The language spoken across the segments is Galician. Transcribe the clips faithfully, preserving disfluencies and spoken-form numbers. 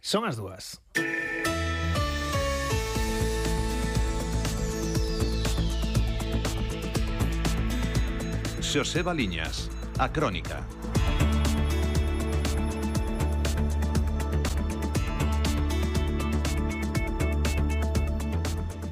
Son as dúas. Xosé Baliñas, a Crónica.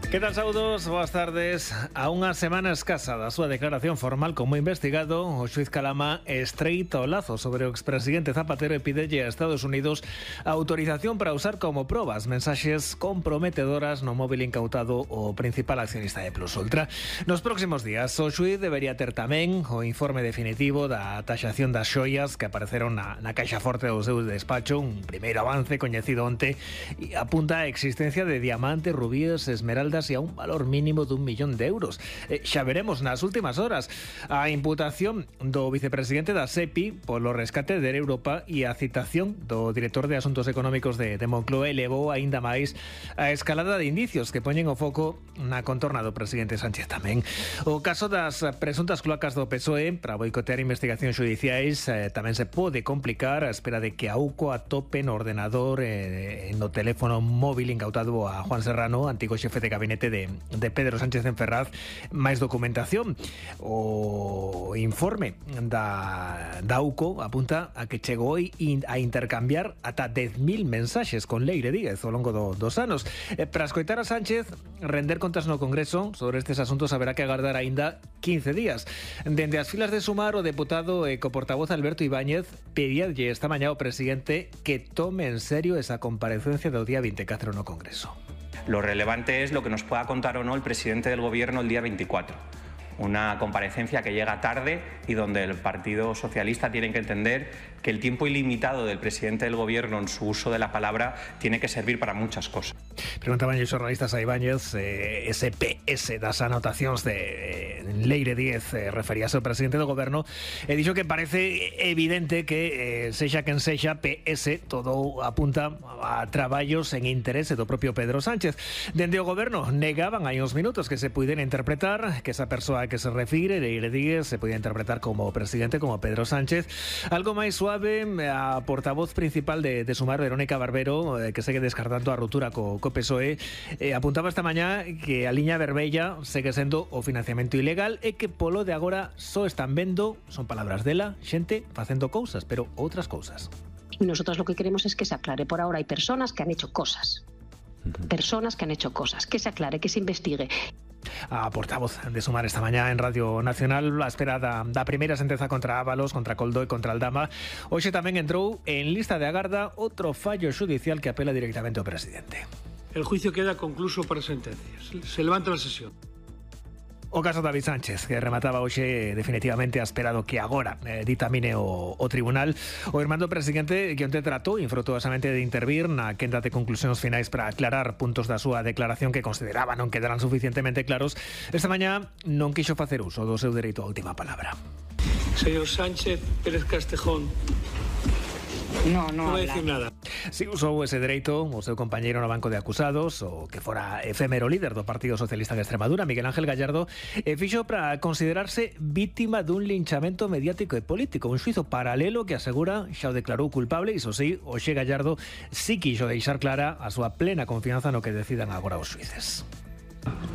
Que tal, saudos? Boas tardes. A unha semana escasa da súa declaración formal como investigado, o xuiz Calama estreita o lazo sobre o expresidente Zapatero e pídelle a Estados Unidos a autorización para usar como probas mensaxes comprometedoras no móvil incautado o principal accionista de Plus Ultra. Nos próximos días, o xuiz debería ter tamén o informe definitivo da taxación das xoias que apareceron na, na caixa forte do seu despacho, un primeiro avance coñecido onte e apunta a existencia de diamantes, rubíes, esmeraldas e a un valor mínimo dun millón de euros. Eh, xa veremos nas últimas horas a imputación do vicepresidente da SEPI polo rescate de Europa e a citación do director de Asuntos Económicos de, de Moncloa elevou aínda máis a escalada de indicios que poñen o foco na contorna do presidente Sánchez tamén. O caso das presuntas cloacas do P S O E para boicotear investigacións xudiciais eh, tamén se pode complicar a espera de que a U C O atope no ordenador eh, no teléfono móvil incautado a Juan Serrano, antigo xefe de gabinete De, de Pedro Sánchez en Ferraz, máis documentación. O informe da, da U C O apunta a que chegou a intercambiar ata dez mil mensaxes con Leire Díaz ao longo do, dos anos. Eh, para escoitar a Sánchez render contas no Congreso sobre estes asuntos haberá que agardar aínda quince días. Dende as filas de Sumar, o deputado e coportavoz Alberto Ibáñez pedíalle esta mañá ao presidente que tome en serio esa comparecencia do día veinticuatro no Congreso. Lo relevante es lo que nos pueda contar o no el presidente del Gobierno el día veinticuatro. Una comparecencia que llega tarde y donde el Partido Socialista tiene que entender que el tiempo ilimitado del presidente del Gobierno en su uso de la palabra tiene que servir para muchas cosas. Preguntaban os xornalistas a Ibáñez eh, ese P S das anotacións de eh, Leire Díaz eh, referíase ao presidente do Goberno e dixo que parece evidente que eh, sexa quen sexa P S todo apunta a traballos en interese do propio Pedro Sánchez. Dende o Goberno negaban hai uns minutos que se puidera interpretar que esa persoa que se refire, Leire Díaz, se podía interpretar como presidente, como Pedro Sánchez. Algo máis suave, a portavoz principal de, de Sumar, Verónica Barbero, eh, que segue descartando a ruptura co, co P S O E, eh, apuntaba esta mañá que a liña vermella segue sendo o financiamento ilegal e que polo de agora só están vendo, son palabras dela, xente facendo cousas, pero outras cousas. Y nosotros lo que queremos es que se aclare. Por ahora hay personas que han hecho cosas. Personas que han hecho cosas. Que se aclare, que se investigue. A portavoz de Sumar esta mañá en Radio Nacional a espera da, da primeira sentenza contra Ábalos, contra Coldo e contra Aldama. Hoxe tamén entrou en lista de agarda outro fallo xudicial que apela directamente ao presidente. El juicio queda concluso para sentencias. Se levanta la sesión. O caso David Sánchez, que remataba hoxe definitivamente a espera do que agora eh, ditamine o, o tribunal. O irmán do presidente que onte tratou infrutuosamente de intervir na quenda de conclusións finais para aclarar puntos da súa declaración que consideraba non quedaran suficientemente claros. Esta mañá non quixo facer uso do seu dereito á última palabra. Señor Sánchez Pérez Castejón. No, no, non vai dicir nada. Si usou ese dereito o seu compañeiro no banco de acusados, o que fora efémero líder do Partido Socialista de Extremadura, Miguel Ángel Gallardo, e fixo para considerarse vítima dun linchamento mediático e político, un xuizo paralelo que asegura xa o declarou culpable. Iso sí, hoxe Gallardo sí quixo deixar clara a súa plena confianza no que decidan agora os xuíces.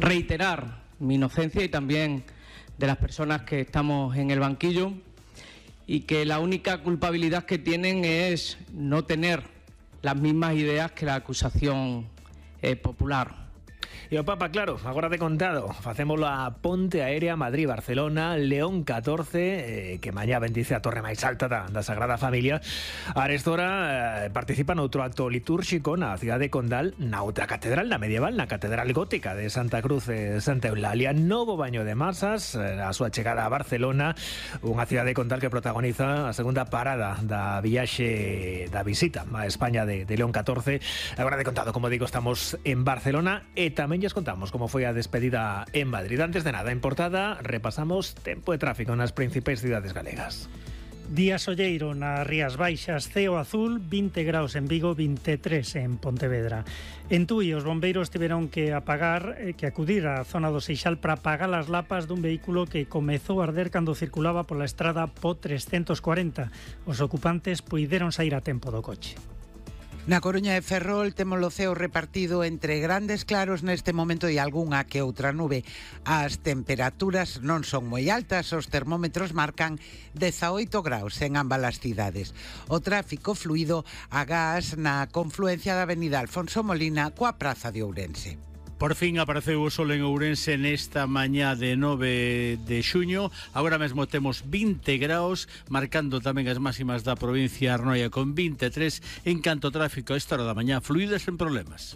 Reiterar mi inocencia y también de las personas que estamos en el banquillo, y que la única culpabilidad que tienen es no tener las mismas ideas que la acusación eh, popular. E o Papa, claro, agora de contado, facémolo a Ponte Aérea Madrid-Barcelona, León catorce, eh, que mañá bendice a torre máis alta da, da Sagrada Familia. Arestora eh, participa noutro acto litúrxico na cidade de Condal, na outra catedral, na medieval, na Catedral Gótica de Santa Cruz de Santa Eulalia. Novo baño de masas, eh, a súa chegada a Barcelona, unha cidade de Condal que protagoniza a segunda parada da viaxe da visita a España de, de León catorce. Agora de contado, como digo, estamos en Barcelona e tamén lles contamos como foi a despedida en Madrid. Antes de nada, en portada, repasamos tempo de tráfico nas principais cidades galegas. Día solleiro nas Rías Baixas, ceo azul, vinte graus en Vigo, vinte e tres en Pontevedra. En Tui, os bombeiros tiveron que apagar, eh, que acudir á zona do Seixal para apagar as lapas dun vehículo que comezou a arder cando circulaba pola estrada P O trescentos cuarenta. Os ocupantes puideron sair a tempo do coche. Na Coruña de Ferrol temos o ceo repartido entre grandes claros neste momento e algunha que outra nube. As temperaturas non son moi altas, os termómetros marcan dezaoito graus en ambas as cidades. O tráfico fluido agás na confluencia da avenida Alfonso Molina coa praza de Ourense. Por fin apareceu o sol en Ourense nesta mañá de nove de xuño. Agora mesmo temos vinte graus, marcando tamén as máximas da provincia de Arnoia con vinte e tres. En canto ao tráfico a esta hora da mañá, fluído sen problemas.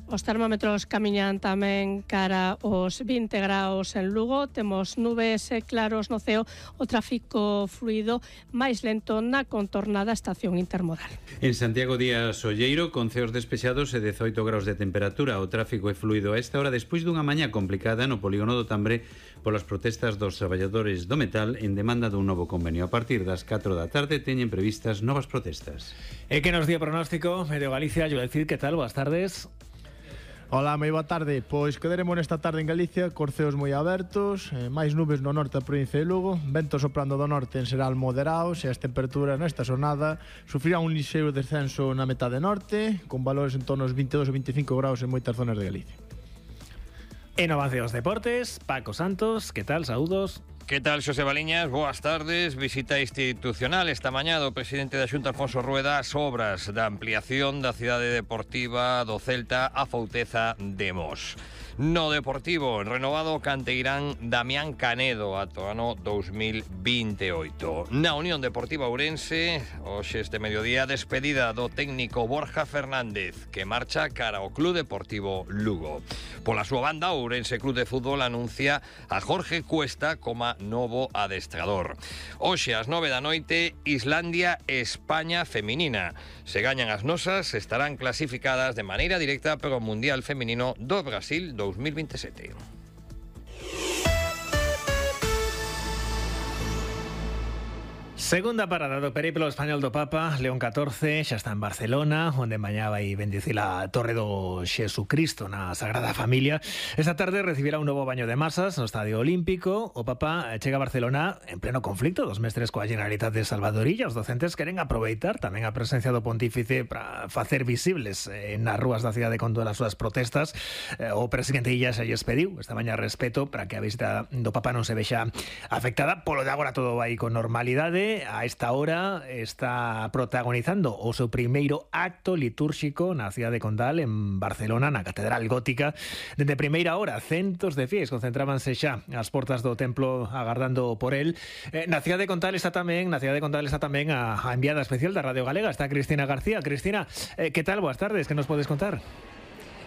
Os termómetros camiñan tamén cara aos vinte graus en Lugo. Temos nubes e claros no ceo. O tráfico fluido máis lento na contornada estación intermodal. En Santiago Díaz Olleiro, con ceos despexados e dezaoito graus de temperatura. O tráfico é fluido a esta hora despois dunha mañá complicada no polígono do Tambre polas protestas dos traballadores do metal en demanda dun novo convenio. A partir das catro da tarde teñen previstas novas protestas. E que nos di o pronóstico Medio Galicia? Joel Cid, que tal? Boas tardes. Ola, moi boa tarde. Pois quedaremos nesta tarde en Galicia, cos ceos moi abertos, eh, máis nubes no norte da provincia de Lugo, vento soprando do norte en xeral moderados e as temperaturas nesta xornada sufrirán un lixeiro descenso na metade norte, con valores en torno aos vinte e dos ou vinte e cinco graus en moitas zonas de Galicia. En avance aos deportes, Paco Santos, que tal? Saúdos. Que tal, Xosé Baliñas? Boas tardes. Visita institucional esta mañá do presidente da Xunta, Alfonso Rueda, as obras da ampliación da cidade deportiva do Celta a Fouteza de Mos. No Deportivo, renovado o canteirán Damián Canedo ata o ano dous mil vinte e oito. Na Unión Deportiva Ourense, hoxe este mediodía, despedida do técnico Borja Fernández, que marcha cara ao Club Deportivo Lugo. Pola súa banda, o Ourense Club de Fútbol anuncia a Jorge Cuesta como novo adestrador. Hoxe, ás nove da noite, Islandia e España feminina. Se gañan as nosas, estarán clasificadas de maneira directa para o Mundial Feminino do Brasil dous mil vinte e sete. Segunda parada do periplo español do Papa, León catorce, xa está en Barcelona, onde mañá vai bendicir a Torre do Xesucristo na Sagrada Familia. Esta tarde recibirá un novo baño de masas no Estadio Olímpico. O Papa chega a Barcelona en pleno conflicto dos mestres coa Generalitat de Salvadorilla. Os docentes queren aproveitar tamén a presencia do pontífice para facer visibles eh, nas rúas da cidade con todas as súas protestas. Eh, o presidente Illa xa lles pediu esta mañá respeto para que a visita do Papa non se vexa afectada. Polo de agora todo vai con normalidade. A esta hora está protagonizando o seu primeiro acto litúrxico na cidade condal en Barcelona, na Catedral Gótica. Dende primeira hora, centos de fiéis concentrábanse xa ás portas do templo agardando por el. Eh, na cidade condal está tamén, na cidade condal está tamén a, a enviada especial da Radio Galega, está Cristina García. Cristina, eh, que tal? Boas tardes, que nos podes contar?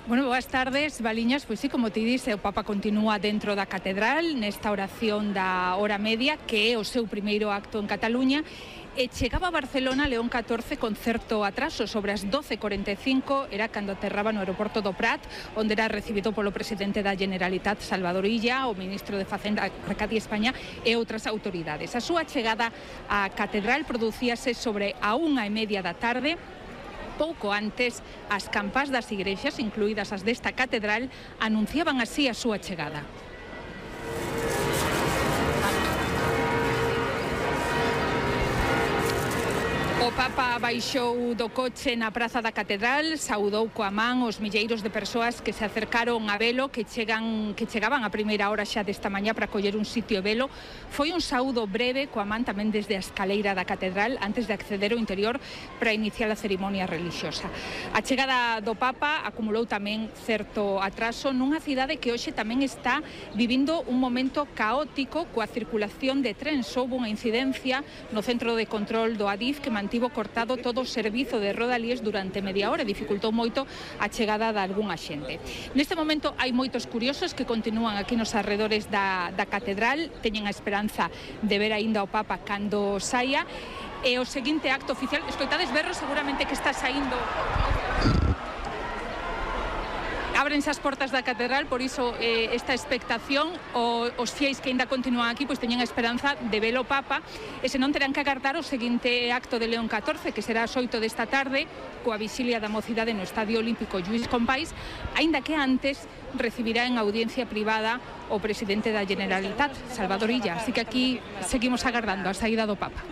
Bueno, boas tardes, Baliñas. Pois sí, como ti dice, o Papa continúa dentro da catedral nesta oración da hora media, que é o seu primeiro acto en Cataluña, e chegaba a Barcelona León catorce con certo atraso. Sobre as doce e cuarenta e cinco era cando aterraba no aeroporto do Prat, onde era recibido polo presidente da Generalitat, Salvador Illa, o ministro de Facenda, Arcadi España, e outras autoridades. A súa chegada á catedral producíase sobre a unha e media da tarde. Pouco antes, as campás das igrexas, incluídas as desta catedral, anunciaban así a súa chegada. O Papa baixou do coche na praza da Catedral, saudou coa man os milleiros de persoas que se acercaron a velo, que chegan que chegaban a primeira hora xa desta mañá para coller un sitio e velo. Foi un saúdo breve coa man tamén desde a escaleira da Catedral antes de acceder ao interior para iniciar a cerimonia relixiosa. A chegada do Papa acumulou tamén certo atraso nunha cidade que hoxe tamén está vivindo un momento caótico coa circulación de trens. Houve unha incidencia no centro de control do Adif que mantivo cortado todo o servizo de Rodalíes durante media hora e dificultou moito a chegada de algunha xente. Neste momento hai moitos curiosos que continúan aquí nos arredores da, da catedral, teñen a esperanza de ver aínda o Papa cando saia, e o seguinte acto oficial, escoitades berros seguramente que está saindo. Ábrense as portas da catedral, por iso eh, esta expectación. O, os fiéis que ainda continúan aquí pois teñen a esperanza de ver o Papa, e senón terán que agardar o seguinte acto de León catorce, que será ás oito desta tarde, coa vixilia da mocidade no Estadio Olímpico Lluís Companys, aínda que antes recibirá en audiencia privada o presidente da Generalitat, Salvador Illa. Así que aquí seguimos agardando a saída do Papa.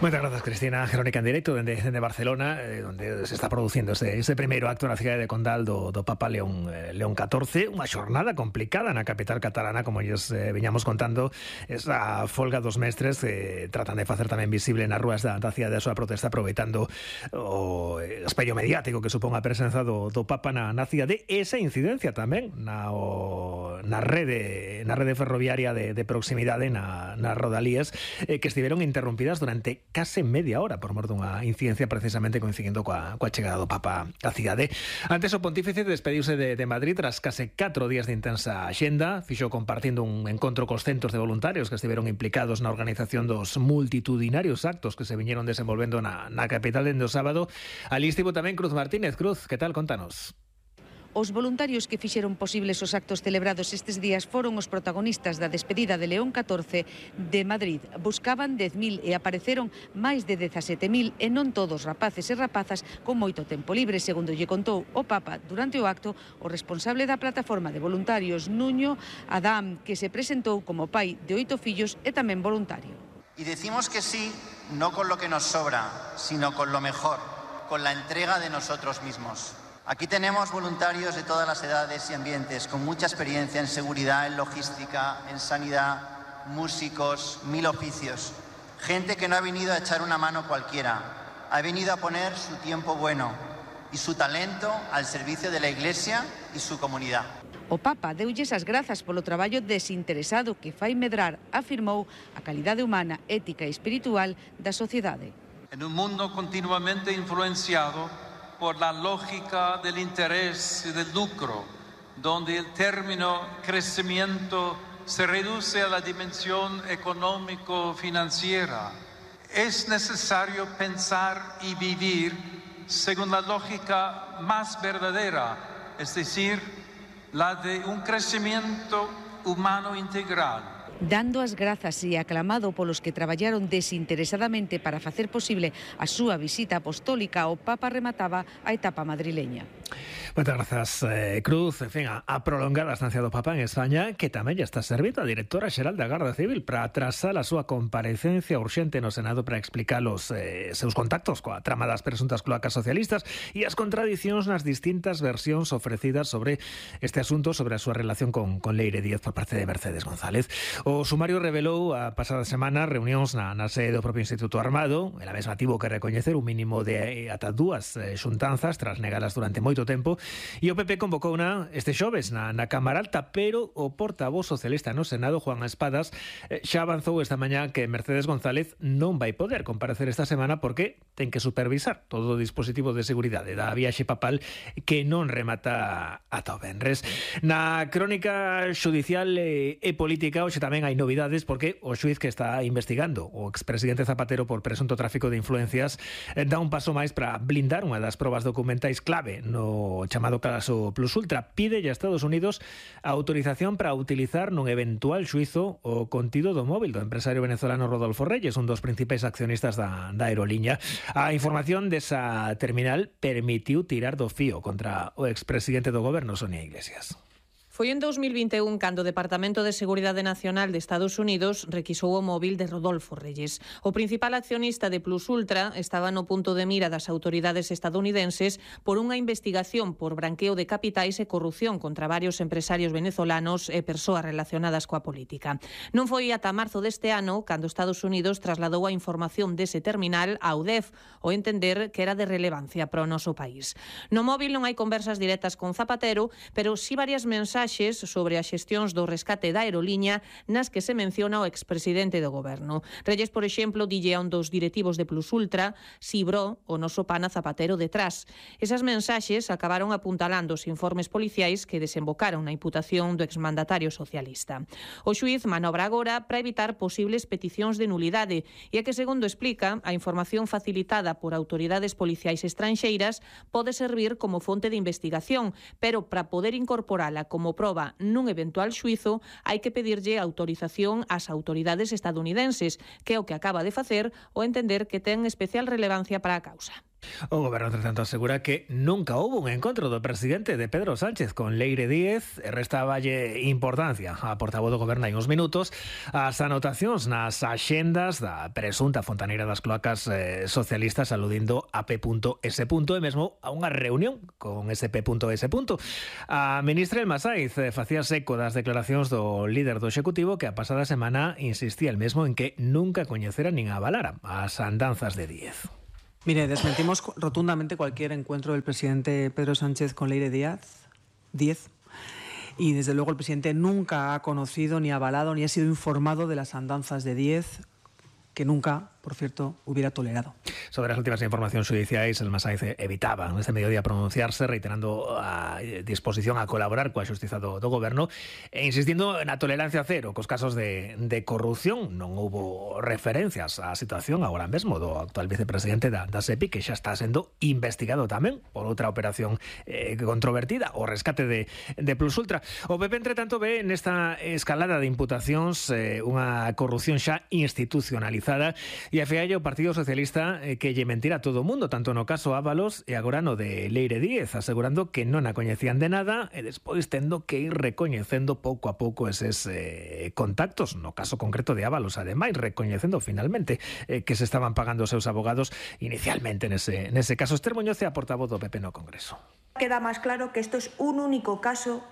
Muchas gracias, Cristina. Crónica en directo desde, desde Barcelona, eh, donde se está producindo ese, ese primeiro acto na cidade de Condal do, do Papa León, eh, León catorce. Unha xornada complicada na capital catalana, como lles eh, viñamos contando. Esa folga dos mestres eh, tratan de facer tamén visible nas rúas da, da cidade a súa protesta, aproveitando o espello mediático que supón a presenza do, do Papa na, na cidade. Esa incidencia tamén na, o, na rede na rede ferroviaria de, de proximidade na, nas rodalías, eh, que estiveron interrompidas durante case media hora por mor dunha incidencia precisamente coincidindo coa, coa chegada do Papa á cidade. Antes o pontífice despediuse de, de Madrid tras case catro días de intensa axenda, fixo compartindo un encontro cos centos de voluntarios que estiveron implicados na organización dos multitudinarios actos que se viñeron desenvolvendo na, na capital dende o sábado. Ali estivo tamén Cruz Martínez. Cruz, que tal? Contanos. Os voluntarios que fixeron posibles os actos celebrados estes días foron os protagonistas da despedida de León catorce de Madrid. Buscaban dez mil e apareceron máis de dezasete mil, e non todos rapaces e rapazas con moito tempo libre, segundo lle contou o Papa durante o acto o responsable da plataforma de voluntarios Nuño Adam, que se presentou como pai de oito fillos e tamén voluntario. Y decimos que sí, no con lo que nos sobra, sino con lo mejor, con la entrega de nosotros mismos. Aquí tenemos voluntarios de todas las edades y ambientes, con mucha experiencia en seguridad, en logística, en sanidad, músicos, mil oficios. Gente que no ha venido a echar una mano cualquiera, ha venido a poner su tiempo bueno y su talento al servicio de la Iglesia y su comunidad. O Papa deulles as grazas polo traballo desinteresado que fai medrar, afirmou, a calidade humana, ética e espiritual da sociedade. En un mundo continuamente influenciado por la lógica del interés y del lucro, donde el término crecimiento se reduce a la dimensión económico-financiera. Es necesario pensar y vivir según la lógica más verdadera, es decir, la de un crecimiento humano integral. Dando as grazas e aclamado polos que traballaron desinteresadamente para facer posible a súa visita apostólica, o Papa remataba a etapa madrileña. Moitas grazas, eh, Cruz. En fin, a, a prolongar a estancia do Papa en España, que tamén ya está servindo a directora xeral da Garda Civil para atrasar a súa comparecencia urxente no Senado para explicar os eh, seus contactos coa trama das presuntas cloacas socialistas e as contradicións nas distintas versións ofrecidas sobre este asunto, sobre a súa relación con, con Leire Díaz por parte de Mercedes González. O sumario revelou a pasada semana reunións na, na sede do propio Instituto Armado. Ela mesma tivo que recoñecer un mínimo de ata dúas eh, xuntanzas tras negalas durante moito tempo. E o P P convocou na este xoves na, na Cámara Alta, pero o portavoz socialista no Senado, Juan Espadas, eh, xa avanzou esta mañá que Mercedes González non vai poder comparecer esta semana porque ten que supervisar todo o dispositivo de seguridade da viaxe papal que non remata ata o venres. Na crónica xudicial e, e política hoxe tamén hai novidades porque o xuiz que está investigando o expresidente Zapatero por presunto tráfico de influencias eh, dá un paso máis para blindar unha das probas documentais clave no chamado caso Plus Ultra. Pide a Estados Unidos a autorización para utilizar nun eventual xuizo o contido do móvil do empresario venezolano Rodolfo Reyes, un dos principais accionistas da, da aeroliña. A información desa terminal permitiu tirar do fío contra o expresidente do goberno, Sonia Iglesias. Foi en dos mil vinte e un cando o Departamento de Seguridade Nacional de Estados Unidos requisou o móvil de Rodolfo Reyes. O principal accionista de Plus Ultra estaba no punto de mira das autoridades estadounidenses por unha investigación por branqueo de capitais e corrupción contra varios empresarios venezolanos e persoas relacionadas coa política. Non foi ata marzo deste ano cando Estados Unidos trasladou a información dese terminal á U D E F, o entender que era de relevancia para o noso país. No móvil non hai conversas directas con Zapatero, pero sí varias mensaxes sobre as xestións do rescate da aeroliña nas que se menciona o expresidente do goberno. Reyes, por exemplo, dille a un dos directivos de Plus Ultra: "Si, bro, o noso pana Zapatero detrás". Esas mensaxes acabaron apuntalando os informes policiais que desembocaron na imputación do exmandatario socialista. O xuiz manobra agora para evitar posibles peticións de nulidade e é que, segundo explica, a información facilitada por autoridades policiais estranxeiras pode servir como fonte de investigación, pero para poder incorporala como proba nun eventual xuizo hai que pedirlle autorización ás autoridades estadounidenses, que é o que acaba de facer o entender que ten especial relevancia para a causa. O Goberno, entre tanto, asegura que nunca hubo un encontro do presidente de Pedro Sánchez con Leire Díez. Restavalle importancia a portavoz do Goberno hai uns minutos as anotacións nas axendas da presunta fontaneira das cloacas eh, socialistas, aludindo a P S. E mesmo a unha reunión con ese P S. A ministra Elma Saiz eh, facía eco das declaracións do líder do Executivo, que a pasada semana insistía el mesmo en que nunca coñecera nin avalara as andanzas de Díez. Mire, desmentimos rotundamente cualquier encuentro del presidente Pedro Sánchez con Leire Díaz, Díez, y desde luego el presidente nunca ha conocido, ni avalado, ni ha sido informado de las andanzas de Díez, que nunca, por cierto, hubiera tolerado. Sobre as últimas informacións xudiciais, Elma Saiz evitaba neste mediodía pronunciarse, reiterando a disposición a colaborar coa xustiza do, do Goberno e insistindo na tolerancia cero cos casos de, de corrupción. Non houbo referencias á situación agora mesmo do actual vicepresidente da, da SEPI, que xa está sendo investigado tamén por outra operación eh, controvertida, o rescate de, de Plus Ultra. O P P, entre tanto, ve nesta escalada de imputacións eh, unha corrupción xa institucionalizada, e afealle o Partido Socialista eh, que lle mentira a todo o mundo, tanto no caso Ábalos e agora no de Leire Díez, asegurando que non a coñecían de nada e despois tendo que ir recoñecendo pouco a pouco eses eh, contactos, no caso concreto de Ábalos, ademais, recoñecendo finalmente eh, que se estaban pagando os seus abogados inicialmente nese, nese caso. Esther Muñoz é a portavoz do P P no Congreso. Queda máis claro que isto es un único caso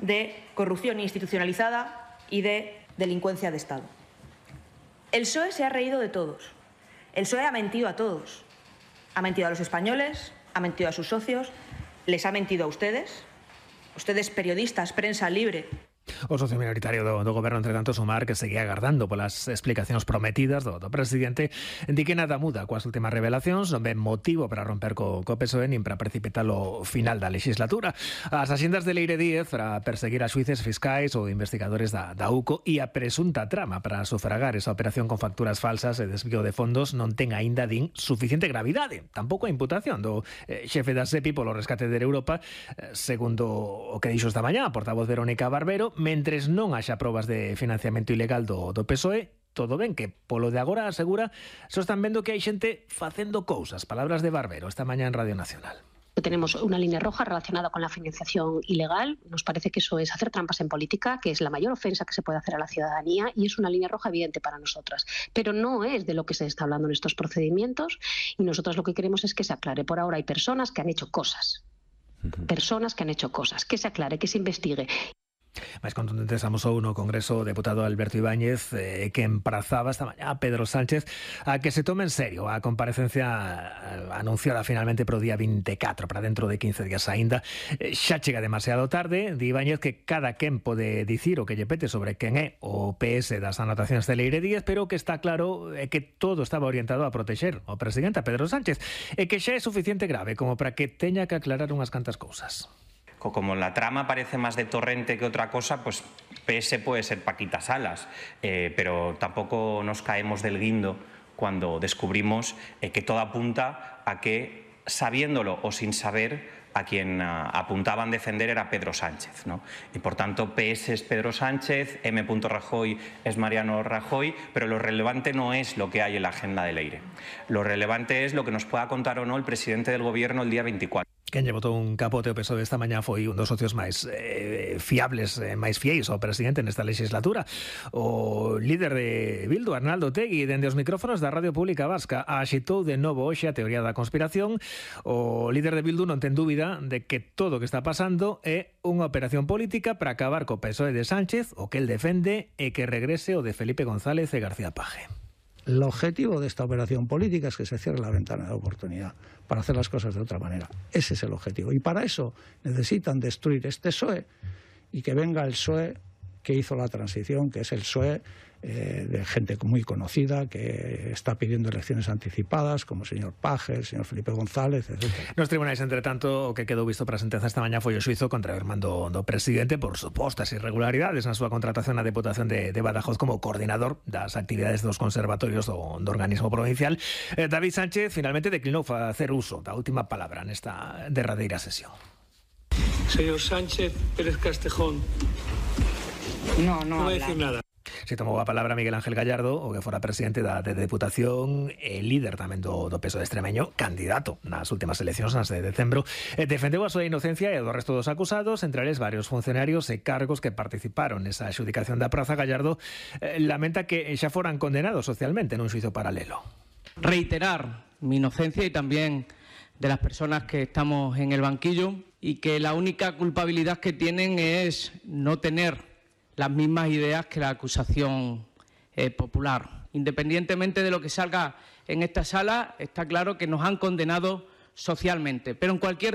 de corrupción institucionalizada y de delincuencia de Estado. El P S O E se ha reído de todos. El P S O E ha mentido a todos. Ha mentido a los españoles, ha mentido a sus socios, les ha mentido a ustedes. Ustedes, periodistas, prensa libre. O socio minoritario do, do Goberno, entre tanto, Sumar, que seguía agardando polas explicacións prometidas do, do presidente, di que nada muda coas últimas revelacións, non ven motivo para romper co, co P S O E nin para precipitar o final da legislatura. As axendas de Leire Díez para perseguir a xuíces fiscais ou investigadores da, da U C O e a presunta trama para sufragar esa operación con facturas falsas e desvío de fondos non ten aínda, din, suficiente gravidade. Tampouco a imputación do eh, xefe da SEPI polo rescate de Europa, eh, segundo o que dixo esta mañá a portavoz Verónica Barbero. Mentres non haxa probas de financiamento ilegal do, do P S O E, todo ben, que polo de agora asegura só están vendo que hai xente facendo cousas. Palabras de Barbero esta mañá en Radio Nacional. Tenemos una línea roja relacionada con la financiación ilegal. Nos parece que eso es hacer trampas en política, que es la mayor ofensa que se puede hacer a la ciudadanía, y es una línea roja evidente para nosotras. Pero no es de lo que se está hablando en estos procedimientos, y nosotros lo que queremos es que se aclare. Por ahora hay personas que han hecho cosas. Personas que han hecho cosas. Que se aclare, que se investigue. Máis contundentes amosou no Congreso o deputado Alberto Ibáñez, eh, que emprazaba esta mañá a Pedro Sánchez a que se tome en serio a comparecencia anunciada finalmente pro día veinticuatro, para dentro de quince días aínda. Eh, xa chega demasiado tarde. Di Ibáñez que cada quen pode dicir o que lle pete sobre quen é o P S das anotacións de Leire Díez, pero que está claro é que todo estaba orientado a protexer o presidente, a Pedro Sánchez, e que xa é suficiente grave como para que teña que aclarar unhas cantas cousas. Como la trama parece más de Torrente que otra cosa, pues P S puede ser Paquita Salas, eh, pero tampoco nos caemos del guindo cuando descubrimos eh, que todo apunta a que, sabiéndolo o sin saber, a quien uh, apuntaban defender era Pedro Sánchez, ¿no? Y por tanto P S es Pedro Sánchez, M. Rajoy es Mariano Rajoy, pero lo relevante no es lo que hay en la agenda de Leire. Lo relevante es lo que nos pueda contar o no el presidente del Gobierno el día veinticuatro. Quen lle botou un capote o P S O E esta mañá foi un dos socios máis eh, fiables, eh, máis fieis ao presidente nesta legislatura. O líder de Bildu, Arnaldo Otegi, dende os micrófonos da Radio Pública Vasca, axitou de novo hoxe a teoría da conspiración. O líder de Bildu non ten dúbida de que todo o que está pasando é unha operación política para acabar co P S O E de Sánchez, o que el defende é que regrese o de Felipe González e García Paje. El objetivo de esta operación política es que se cierre la ventana de oportunidad para hacer las cosas de otra manera. Ese es el objetivo. Y para eso necesitan destruir este P S O E y que venga el P S O E que hizo la transición, que es el P S O E eh, de gente muy conocida, que está pidiendo elecciones anticipadas, como el señor Paje, el señor Felipe González, etcétera. Nos tribunais, entre tanto, o que quedou visto para a sentenza esta mañá foi o xuizo contra o irmán do, do presidente por supostas irregularidades na súa contratación na Deputación de, de Badajoz como coordinador das actividades dos conservatorios do, do organismo provincial. Eh, David Sánchez finalmente declinou facer uso da última palabra nesta derradeira sesión. Señor Sánchez Pérez Castejón, no, no, no voy a decir nada. Se tomou a palabra Miguel Ángel Gallardo, o que fora presidente da de Deputación e líder tamén do, do P S O E extremeño, candidato nas últimas eleccións nas de decembro, e defendeu a súa inocencia e do resto dos acusados, entre eles varios funcionarios e cargos que participaron nesa adxudicación da praza. Gallardo eh, lamenta que xa foran condenados socialmente nun xuizo paralelo. Reiterar mi inocencia y también de las personas que estamos en el banquillo, y que la única culpabilidad que tienen es no tener las mismas ideas que la acusación eh, popular. Independientemente de lo que salga en esta sala, está claro que nos han condenado socialmente. Pero en cualquier caso,